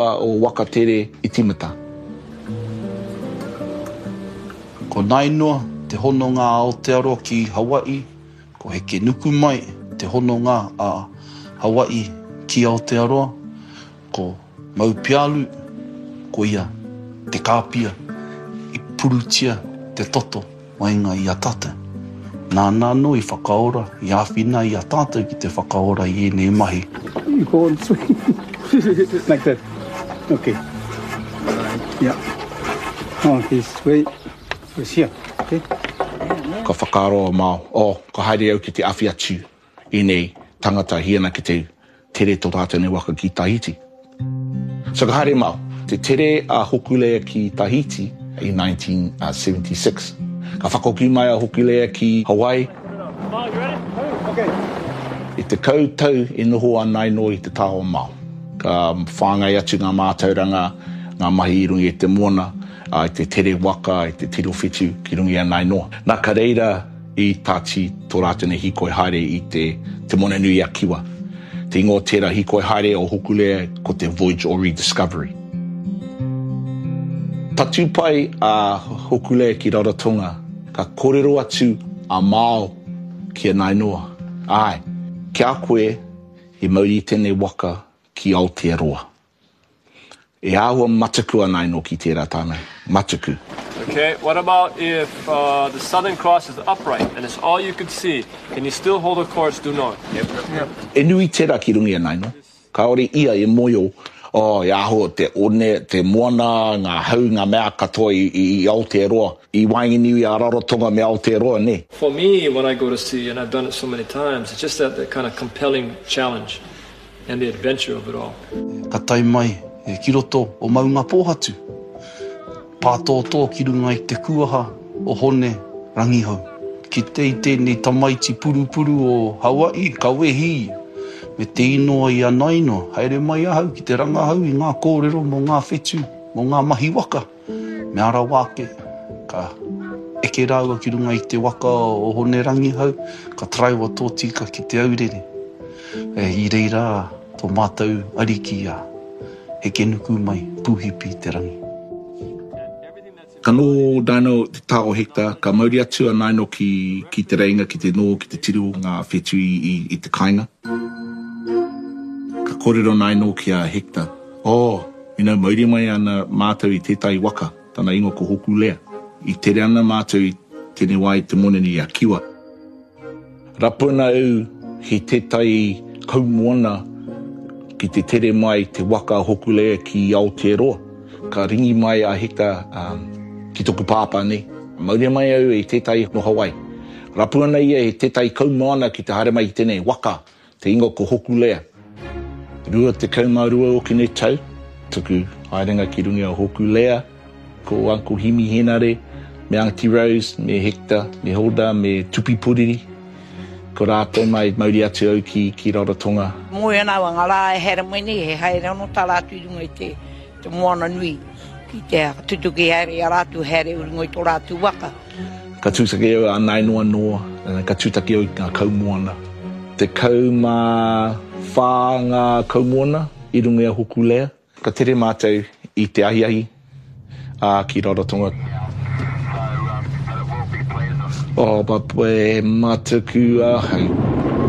O Wakatere i timata. Ko Nainoa te hononga a Aotearoa ki Hawaii, ko Hekenukumai te hononga a Hawaii ki Aotearoa, ko Maupialu, koia te kāpia i purutia te toto waenga i a tātou. Nāna anō i whakaora, i āwhina i a tātou ki te whakaora i ēnei mahi. You go and swing like that. Okay. Yeah. Oh, this way. It's here. Okay. Ka whakaaro a Mao, oh, ka haere au ki te awhi atu ēnei tangata hi ana ki te tere tō rātou nei waka ki Tahiti. So ka haere Mao, te tere a Hokulea ki Tahiti i 1976. Ka whakahoki mai a Hokulea ki Hawaii. I 10 tau e noho a Nainoa i te taha o Mao. Ka whāngai atu ngā mātauranga, ngā mahi i runga i te moana, i te tere waka, i te tiro whetu ki runga i a Nainoa. Nā ka reira i tāti tō rātou nei hīkoi haere i te Te Moana-nui-a-Kiwa. Te ingoa o tērā hīkoi haere o Hokulea ko te Voyage o Rediscovery. Tatū pai a Hokulea ki Rarotonga, ka kōrero atu a Mao ki a Nainoa, Āe, ki a koe i mauri i tēnei waka ki Aotearoa. E āhua mataku ana anō ki tērā tāna, mataku. Okay, what about if uh, the Southern Cross is upright and it's all you could see, can you still hold a course due north? Yep. Yep. E nui tērā ki runga i a Naino. Kāore ia e moio, oh, e āhua te one, te moana, ngā hau, ngā mea katoa i, i, i Aotearoa, i waenganui a Rarotonga me Aotearoa, nē? For me, when I go to sea, and I've done it so many times, it's just that, that kind of compelling challenge. And the adventure of it all. Ka tae mai ki roto o Maungapōhatu, pātōtō ki runga i te kuaha o Hone Rangihau. Kite i tēnei tamaiti purupuru o Hawaii, ka wehi ia, me te inoa i a Nainoa, haere mai ahau ki te rangahau i ngā kōrero mō ngā whetū, mō ngā mahi waka. Mea rawa ake, ka eke rāua ki runga i te waka o Hone Rangihau, ka taraiwa tōtika ki Te Aurere. E, i reira tō mātou ariki a Hekenukumai Pūhipi te rangi. Ka noho Naino te taha o Hector, ka mauri atu a Naino ki, ki Te Reinga ki te noho ki te tiro o ngā whetū i, i, i te kāinga. Ka kōrero Naino ki a Hector, Oh, You know, mauri mai ana mātou i tētahi waka, tana ingoa ko Hōkūlea. I tere ana mātou i tēnei wā i te Moananui a Kiwa. Rapuna au ki tētahi kaumoana ki te tere mai te waka Hōkūlea ki Aotearoa. Ka ringi mai a Hika ki toku pāpā nei. Mauria mai au i tētahi no Hawaii. Rapu ana ia i tētahi kaumoana ki te haere mai i tēnei waka Te ingoa ko Hokulea. 22 okene tau tuku haerenga ki runga o Hokulea, ko Uncle Himi Henare, me Aunty Rose, me Hector, me Hilda, me Tupi Puriri. Ko rātou mai mauri atu au ki, ki Rarotonga. Moe ana au a nga ra e haere mai nei, he haere ano ta ratu i runga i te, te moana nui, ki te tutuki haere i a ratu haere i runga i to ratu waka. Ka tūtaki au a Nainoa Noa, ka tūtaki au i ngā kaumoana. 14 ngā kaumoana i runga i a Hokulea. Ka tere mātou i te ahiahi, ā, ki Rarotonga. Oh, but e mataku ahau.